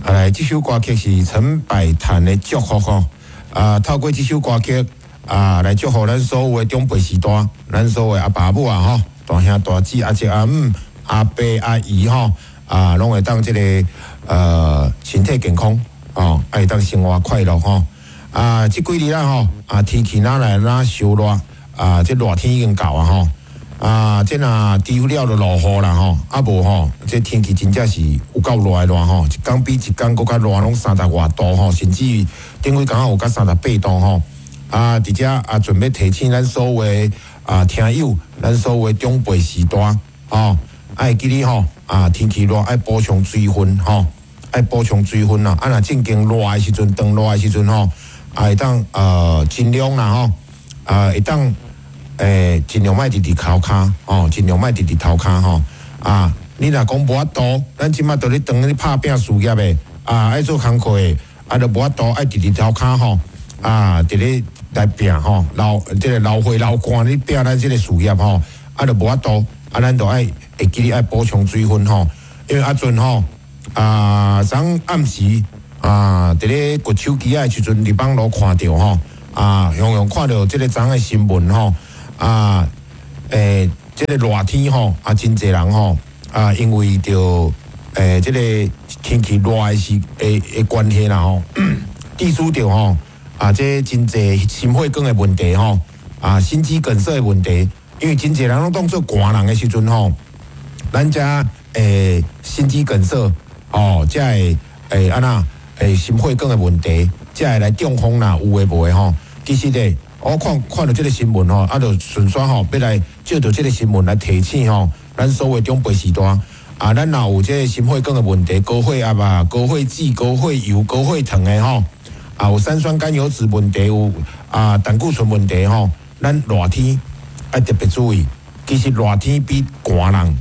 啊，來，這首歌曲是陳百潭的祝福吼。啊，透過這首歌曲啊，來祝福咱所有的長輩時代，咱所有的阿爸母啊吼，大兄大姊、阿叔阿姆、阿伯阿姨吼，啊，攏會當這個身體健康吼，啊會當生活快樂吼。啊，這幾日啊吼，啊天氣若來若燒熱，啊，這熱天已經到啊吼。啊，這若除了就落雨啦吼，啊無吼，這天氣真正是有夠熱的熱吼，一工比一工閣較熱，攏三十外度吼，甚至頂幾工有到38度吼。啊，佇遮啊，準備提醒咱所有的啊聽友，咱所有的長輩時代吼，愛記得吼，啊天氣熱愛補充水分吼，愛補充水分啦。啊，若正經熱的時陣，當熱的時陣吼，啊會當盡量啦吼，啊會當。盡量莫直直頭跤吼，盡量莫直直頭跤吼。啊，你若講無法度，咱這馬都咧當咧拍拚事業的，啊，愛做工課的，啊，都無法度愛直直頭跤吼。啊，佇咧來拚吼，流這個流血流汗咧拚咱這個事業吼，啊，都無法度，啊，咱都愛會記得愛補充水分吼，因為啊陣吼，啊，昨暗時啊，佇咧滑手機仔的時陣，佇網路看著吼，啊，雄雄看著這個昨的新聞吼。啊，這個熱天吼，啊，真濟人吼，啊，因為著這個天氣熱的時的關係啦吼，致使著吼，啊，這真濟心血管的問題吼，啊，心肌梗塞的問題，因為真濟人攏當做寒人的時陣吼，咱遮心肌梗塞吼，才會按怎心血管的問題，才會來中風啦，有的無的吼，其實咧。我看看著這個新聞吼，啊，就順紲吼，欲來借著這個新聞來提醒吼，咱所有長輩時代，啊，咱若有這個心血管的問題，高血壓啊、高血脂、高血油、高血糖的吼，啊，有三酸甘油酯問題，有啊膽固醇問題吼，咱熱天愛特別注意。其實熱天比寒人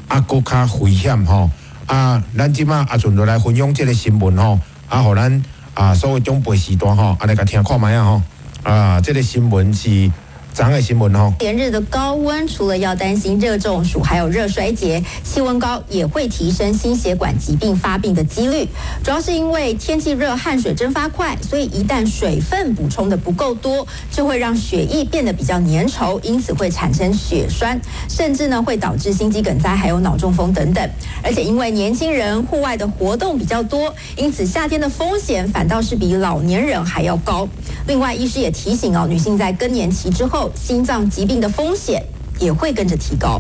啊閣較危險吼。啊，咱這馬啊順著來分享這個新聞吼，啊，予咱啊所有長輩時代吼，啊來共聽看覓仔吼。啊，這個新聞是昨的新聞吼。連日的高溫，除了要擔心熱中暑，還有熱衰竭，氣溫高也會提升心血管疾病發病的幾率。主要是因為天氣熱，汗水蒸發快，所以一旦水分補充的不夠多，就會讓血液變得比較粘稠，因此會產生血栓，甚至呢會導致心肌梗塞，還有腦中風等等。而且因為年輕人戶外的活動比較多，因此夏天的風險反倒是比老年人還要高。另外，醫師也提醒哦，女性在更年期之後，心臟疾病的風險也會跟着提高。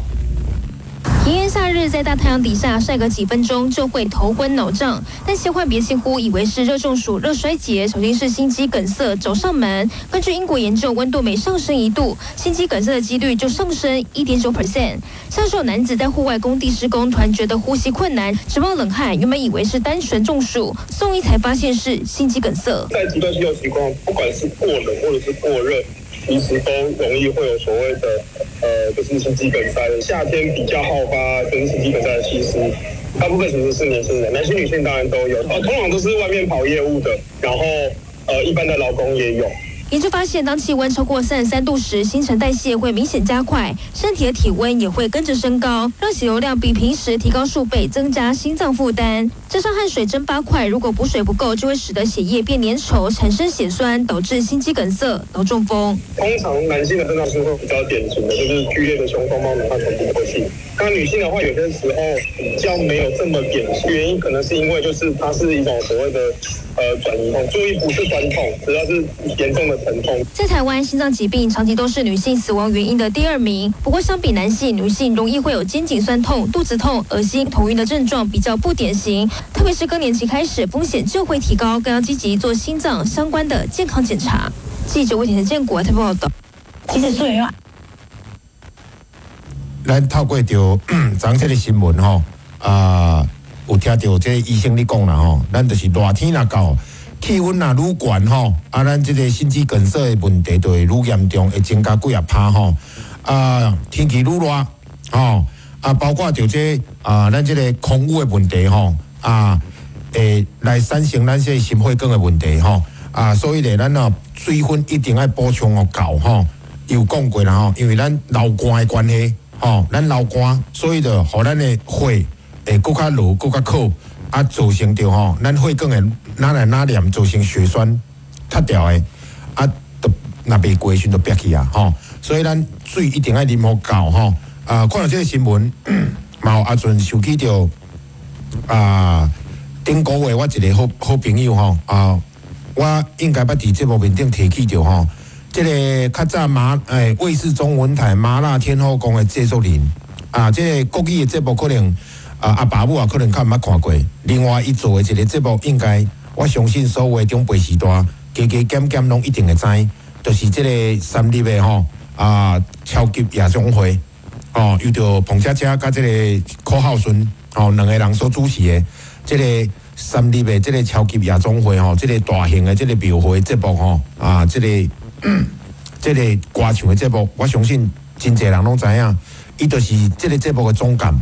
炎炎夏日，在大太陽底下曬個幾分鐘就會頭昏腦脹，但千萬別輕忽，以為是熱中暑、熱衰竭，小心是心肌梗塞找上門。根據英國研究，溫度每上升1度，心肌梗塞的幾率就上升1.9%。像是有男子在戶外工地施工，突然覺得呼吸困難，直冒冷汗，原本以為是單純中暑，送醫才發現是心肌梗塞。在極端氣候情況，不管是過冷或者是過熱，其實都容易會有所謂的，就是心肌梗塞。夏天比較好發跟心肌梗塞的，其實大部分其實是年輕人，男性、女性當然都有。通常都是外面跑業務的，然後一般的勞工也有。研究發現，當氣溫超過33度時，新陳代謝會明顯加快，身體的體溫也會跟着升高，讓血流量比平時提高數倍，增加心臟負擔。加上汗水蒸發快，如果補水不夠，就會使得血液變粘稠，產生血栓，導致心肌梗塞、腦中風。通常男性的症狀是會比較典型的，就是劇烈的胸痛、冒冷汗、喘不過氣。那女性的話，有些時候比較沒有這麼典型，原因可能是因為就是它是一種所謂的轉移痛，注意不是酸痛，主要是嚴重的疼痛。在台灣，心臟疾病長期都是女性死亡原因的第二名。不過，相比男性，女性容易會有肩頸痠痛、肚子痛、噁心、頭暈的症狀，比較不典型。特別是更年期開始，風險就會提高，更要積極做心臟相關的健康檢查。記者魏田建國台報道。其實雖然咱透過著昨這個新聞吼，啊，有聽著這個醫生咧講啦吼，咱就是熱天若到，氣溫若愈懸吼，啊，咱這個心肌梗塞的問題就會愈嚴重，會增加幾仔趴吼。啊，天氣愈熱吼，啊，包括著這啊，咱這個空污的問題吼，啊，會來產生咱這個心血管的問題吼。啊，所以咧，咱啊水分一定愛補充予夠吼。有講過啦吼，因為咱流汗的關係。吼，咱流汗，所以就予咱的血會閣較濁、閣較渴，啊，造成著吼，咱血管的哪來哪黏造成血栓塌掉的，啊，都若袂過時陣就煏去啊，吼！所以咱水一定愛啉予夠吼。啊，看著這个新聞，嘛有阿陣想起著啊，頂個月我一個好好朋友吼，啊，我應該捌佇節目面頂提起著吼，這个較早麻欸衛視中文台麻辣天后宮的製作人，啊，這个國語的節目可能。啊，阿爸母也可能較毋捌看過。另外，伊做的一个節目，應該我相信所有的長輩時代，加加減減攏一定會知，就是這个三立的吼啊，超級夜總會哦，由著彭佳佳佮這个柯浩順吼兩个人所主持的這个三立的這个超級夜總會吼，這个大型的這个廟會節目吼啊，這个這个歌唱的節目，我相信真濟人攏知影，伊就是這个節目的總監。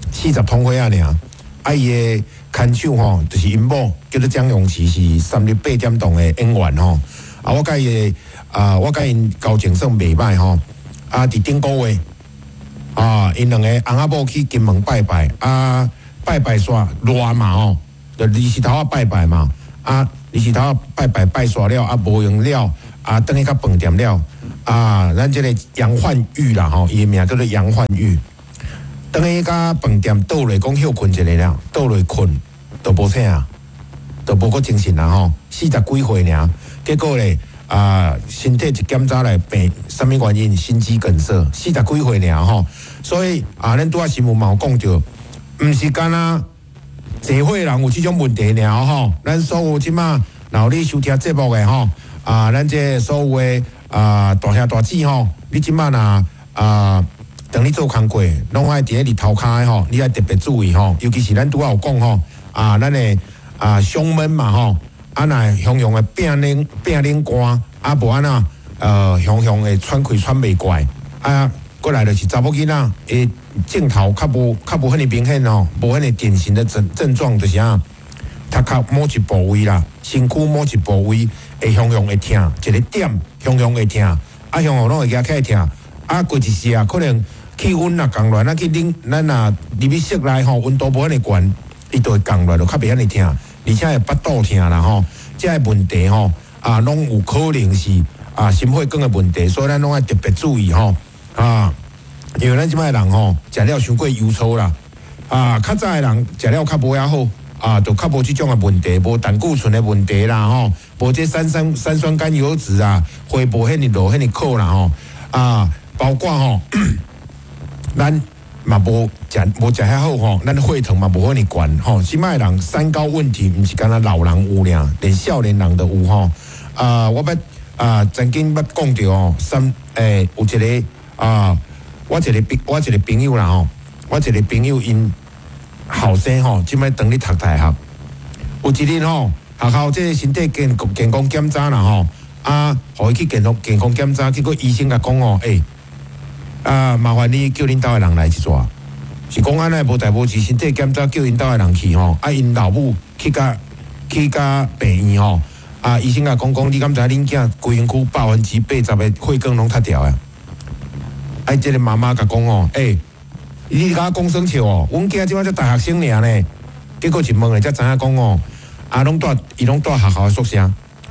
40通歲仔爾，啊，伊的牽手吼，就是𪜶某叫做江詠琪，是三立八點檔的演員吼。啊，我佮伊啊，我佮𪜶交情算袂歹吼。啊，佇頂個月啊，𪜶兩個翁仔某去金門拜拜，啊，拜拜煞熱嘛吼，就二時頭仔拜拜嘛。啊，二時頭仔拜拜拜煞了，啊，無閒了，啊，轉去到飯店了，啊，咱這个楊煥玉啦吼，伊的名叫做楊煥玉。轉去佮飯店倒落講歇睏一下了，倒落睏都無醒啊，都無閣精神啊吼，四十幾歲爾，結果咧啊，身體一檢查來病，啥物原因？心肌梗塞，四十幾歲爾吼，所以啊，咱拄仔新聞嘛有講著，毋是干焦濟歲人有這種問題爾吼，咱所有這馬若有你收聽節目的吼，啊，咱這所有的啊大兄大姊吼，你這馬若啊。當你做工課，攏愛佇咧日頭跤的吼，你愛特別注意吼，尤其是咱拄仔有講吼，啊，咱的啊胸悶嘛吼，啊若雄雄的變冷變冷汗，啊無按怎雄雄會喘氣喘袂過來，啊，過來就是查某囡仔，伊症頭較無較無遐爾明顯吼，無遐爾典型的症症狀，就是按怎，頭殼某一部位啦，身軀某一部位會雄雄會疼，一个點雄雄會疼，啊雄雄攏會舉起來疼，啊過一時啊可能。氣溫若降落來，咱去冷，咱若入去室內吼，溫度無遐爾懸，伊就會降落來，就較袂遐爾疼，而且會腹肚疼啦吼。這个問題吼，啊，攏有可能是啊心血管的問題，所以咱攏愛特別注意吼啊，因為咱這擺人吼，食了傷過油醋啦，啊，較早的人食了較無遐好，啊，就較無這種的問題，無膽固醇的問題啦吼，無這三酸三酸甘油酯啊，血無遐爾落遐爾苦啦吼，啊，包括吼。咱嘛無食無食遐好吼，咱血糖嘛無遐爾懸吼。這擺人三高問題，毋是干焦老人有爾，連少年人都有吼。啊，我捌啊曾經捌講著吼，三欸有一个啊，我一个朋我一个朋友啦吼，我一个朋友𪜶後生吼，這擺當咧讀大學，有一日吼，學校這个身體健健康檢查啦吼，啊，予伊去健康健康檢查，結果醫生共講吼，欸。啊，麻煩你叫恁兜的人來一逝。是講按呢無代無誌，身體檢查叫𪜶兜的人去吼，啊，𪜶老母去共去共病院吼，啊，醫生共講講，你敢知影恁囝規身軀80%的血管攏塌掉啊？啊，這个媽媽共講吼，欸，你共我講耍笑哦？阮囝這擺才大學生爾呢，結果一問咧才知影講吼，啊，攏蹛伊攏蹛學校的宿舍，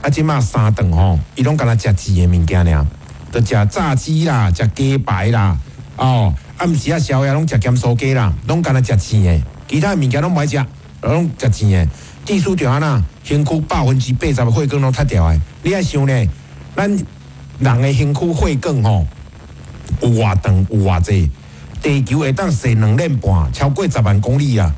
啊，這擺三頓吼，伊攏干焦食膩的物件爾。就食炸雞啦，食雞排啦，哦，暗時仔宵夜攏食鹹酥雞啦，攏干焦食膩的，其他的物件攏無愛食，攏食膩的。意思就按怎，身軀80%的血管攏塌掉的。你愛想呢，咱人的身軀血管吼，有偌長，有偌濟，地球會當踅兩輪半，超過10萬公里啊！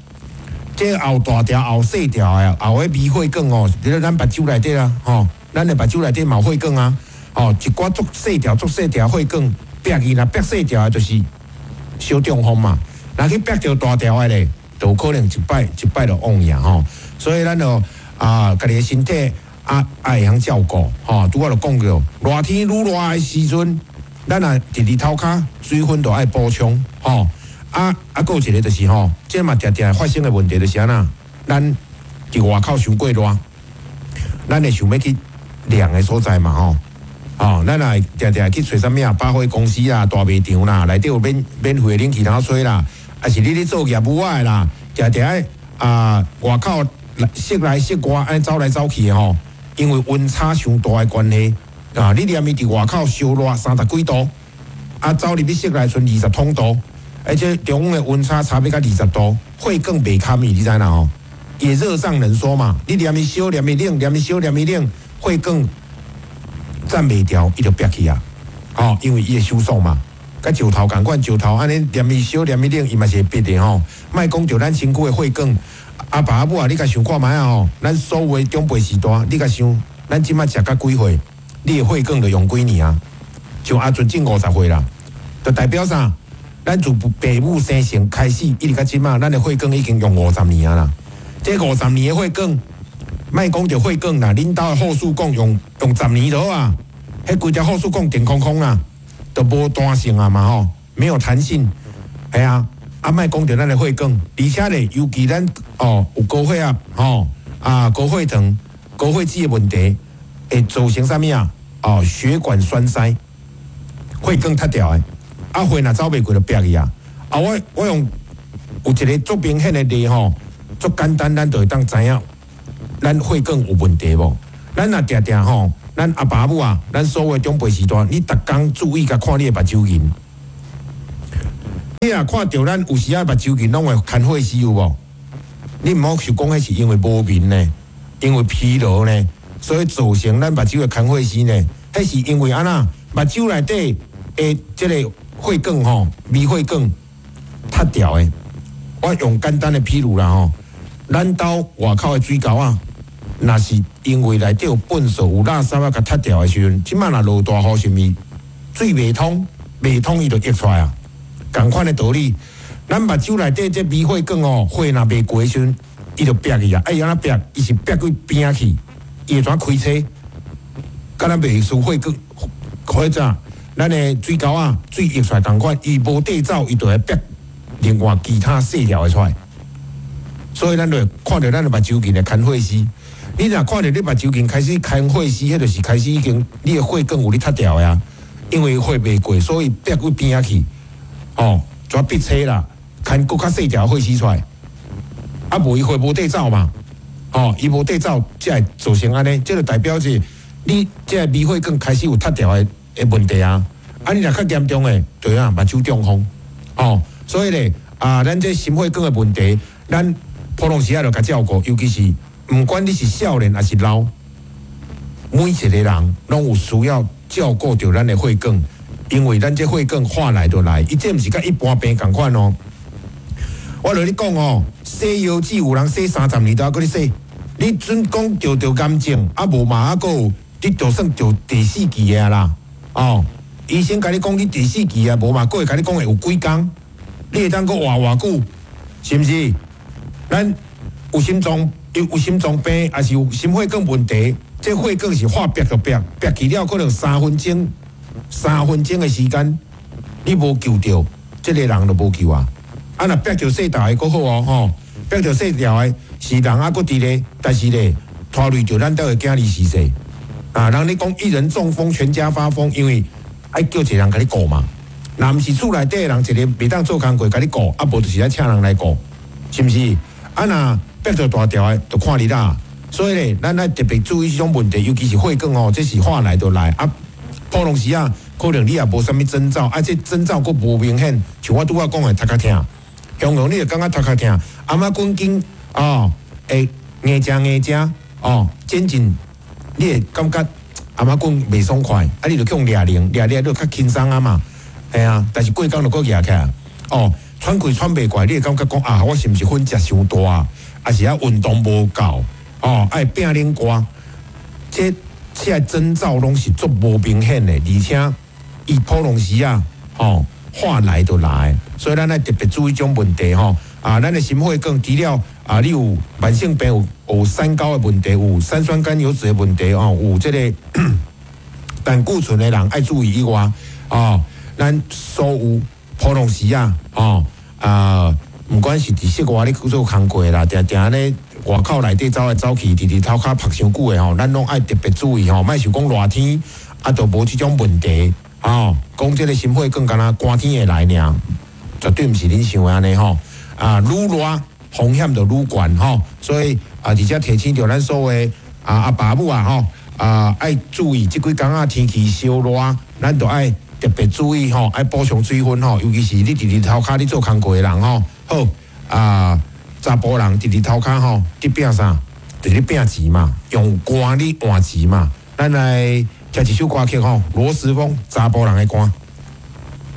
這後大條後細條的，後的微血管吼，佇咧咱目睭內底啊，吼，咱的目睭內底嘛有血管啊。哦，一寡足細條、足細條血管煏去，若煏細條的，就是小中風嘛。若去煏著大條的咧，就有可能一擺一擺就往去吼。所以咱就啊，家己的身體啊，愛會曉照顧吼。拄仔就講著，熱天愈熱的時陣，咱若佇日頭跤，水分就愛補充吼。啊啊，閣有一个就是吼，這嘛定定會發生的問題就是按怎，咱佇外口傷過熱，咱會想欲去涼的所在嘛吼。哦，咱若定定去揣啥物啊？百貨公司啦、大賣場啦，內底有免免費的冷氣通吹啦，抑是你咧做業務仔的啦，定定愛啊，外口室內室外按呢走來走去的吼，因為溫差傷大的關係啊，你連伊佇外口燒熱三十幾度，啊，走入去室內賰二十通度，而且中央的溫差差欲到二十度，血管袂堪伊，你知影吼？伊熱脹冷縮嘛，你連伊燒，連伊冷，連伊燒，連伊冷，血管站袂牢，伊就煏去啊！吼，因為伊會收縮嘛，佮石頭仝款，石頭按呢連伊燒，連伊冷，伊嘛是會煏的吼。莫講著咱身軀的血管，阿爸阿母啊，你共想看覓啊吼？咱所有的長輩時代，你共想，咱這馬食甲幾歲？你的血管就用幾年啊？像阿陣正50歲啦，就代表啥？咱自父母生成開始，一直到這馬，咱的血管已經用五十年啊啦。這五十年的血管，莫講著血管啦，恁兜的後束管用用十年就好啊。彼規條後束管定空空啊，都無彈性啊嘛吼，沒有彈性，係啊。啊，莫講著咱的血管，而且咧，尤其咱哦有高血壓吼啊高血糖、高血脂的問題，會造成啥物啊？哦，血管栓塞，血管塌掉的，啊血若走袂過就煏去啊。啊，我我用有一个足明顯的例吼，足簡單，咱就會當知影咱血管有問題無？咱若定定吼，咱阿爸母啊，咱所有的長輩時代，你逐工注意共看你的目睭銀。你若看著咱有時仔目睭銀攏會牽血絲有無？你毋好想講彼是因為無眠呢，因為疲勞呢，所以造成咱目睭會牽血絲呢。彼是因為按怎？目睭內底的這個血管吼，微血管塌掉的。我用簡單的譬如啦吼，咱兜外口的水溝仔，若是因為內底有糞埽、有垃圾啊，共塌掉的時陣，這馬若落大雨，是毋是水袂通？袂通伊就溢出來啊！仝款的道理，咱目睭內底這微血管哦，血若袂過的時陣，伊就煏去啊！啊，伊按怎煏？伊是煏去邊仔去，伊會怎開車？敢若袂輸血管，或者咱的水溝仔，水溢出來仝款，伊無地走，伊就會煏另外其他細條的出來。所以咱就會看著咱的目睭銀會牽血絲。你若看著你目睭銀開始牽血絲，彼就是開始已經你的血管有咧塌掉的啊。因為血袂過，所以煏去邊仔去。哦，怎逼車啦？牽閣較細條血絲出來，啊，無伊血無地走嘛？哦，伊無地走，才會造成按呢，這就代表是你這個微血管開始有塌掉的的問題啊！啊，你若較嚴重的，就啊目睭中風。哦，所以咧啊，咱這心血管的問題，咱普通時仔就共照顧，尤其是毋管你是少年抑是老，每一個人攏有需要照顧著咱的血管。因為咱這血管話來就來，伊這毋是佮一般病仝款哦。我共你講哦，洗腰子有人洗30年都猶閣咧洗，你準講著著癌症，啊無嘛啊閣有，你就算著第四期的啦，哦，醫生共你講你第四期啊，無嘛閣會共你講會有幾工，你會當閣活偌久，是毋是？咱有心臟有有心臟病，抑是有心血管問題，這血管是話煏就煏，煏去了可能三分鐘。三分鐘的時間，你無救著，這個人就無救啊！啊，若煏著細條的閣好哦，吼，煏著細條的是人猶閣佇咧，但是咧拖累著咱兜的囝兒是誰？啊，人咧講一人中風，全家發瘋，因為愛叫一個人共你顧嘛。若毋是厝內底的人一个袂當做工課共你顧，啊無就是愛請人來顧，是毋是？啊，若煏著大條的，就看你啦。所以咧，咱愛特別注意這種問題，尤其是血管哦，這是話來就來啊。普通時啊，可能你也無啥物徵兆，啊，這徵兆閣無明顯。像我拄仔講的，頭殼疼，雄雄你會感覺頭殼疼，阿媽滾緊哦，會硬食硬食哦，漸漸你會感覺阿媽滾袂爽快，啊，你就去予掠靈，掠掠你就較輕鬆啊嘛，嘿啊，但是過工就閣夯起來，哦，喘氣喘袂過來，你會感覺講啊，我是毋是粉食傷大，抑是啊運動無夠，哦，愛變冷汗，這。這个徵兆攏是足無明顯的，而且伊普通時啊，吼話來就來，所以咱愛特別注意這種問題吼。啊，咱的心血管除了啊，你有慢性病有有三高的問題，有三酸甘油酯的問題哦，有這個膽固醇的人愛注意以外，哦，咱所有普通時啊，哦啊，毋管是佇室外咧去做工課啦，定定咧外口內底走來走去，佇佇塗跤曝傷久的吼，咱攏愛特別注意吼，莫想講熱天啊，就無這種問題吼。講這个心血管敢若寒天會來爾，絕對毋是恁想的按呢吼。啊，愈熱風險就愈懸吼。所以啊，佇遮提醒著咱所有的啊阿爸母啊吼啊，愛注意這幾工仔天氣燒熱，咱就愛特別注意吼，愛補充水分吼，尤其是你佇日頭跤咧做工課的人吼。好啊，查埔人佇日頭跤吼，佇拼啥？佇咧拼錢嘛，用汗咧換錢嘛。咱來聽一首歌曲吼，羅時豐《查埔人的歌》。